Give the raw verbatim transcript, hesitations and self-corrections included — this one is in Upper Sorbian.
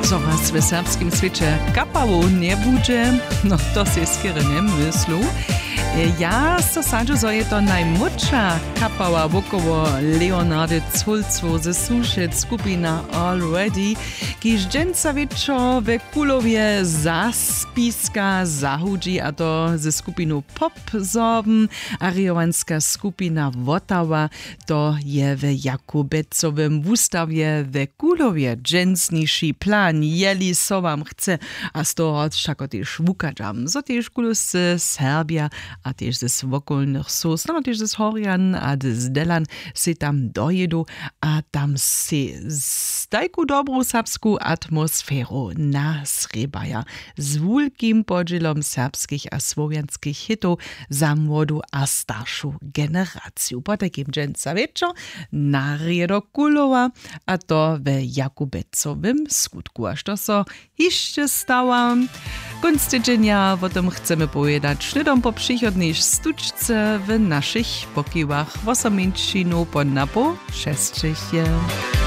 Co raz w serbskim swěće kapałow njebudźe? No, to sej skerje njemyslu. Ja so sadźu, zo je to najmłódša kapała wokoło Leonardy Culcow ze Sušec, skupina Already, kiž dźensa wječor we Kulowje za spiska zahudźi, a to ze skupinu Pop Sorben. A rěhowanska skupina Wotawa, to je we Jakubecowym wustawje we Kulowje dźensniši plan, jeli so wam chce. A z toho wšako tež wuchadźam, zo tež Kulowsce, Serbja a tež z wokolnych wsow, snano tež z Horjan a z Delan sej tam dojědu a tam sej z tajku dobru serbsku atmosferu nasrěbaja z wulkim podźělom serbskich a słowjanskich hitow za młodu a staršu generaciju. Potajkim dźensa wječor na rědo Kulowa, a to we Jakubecowym skutku. A što so hišće stawa? Kónc tydźenja wo tym chcemy powědać hnydom po přichodnej štučce w našich pokiwach. Wosomińćinu po napoł šesćich je.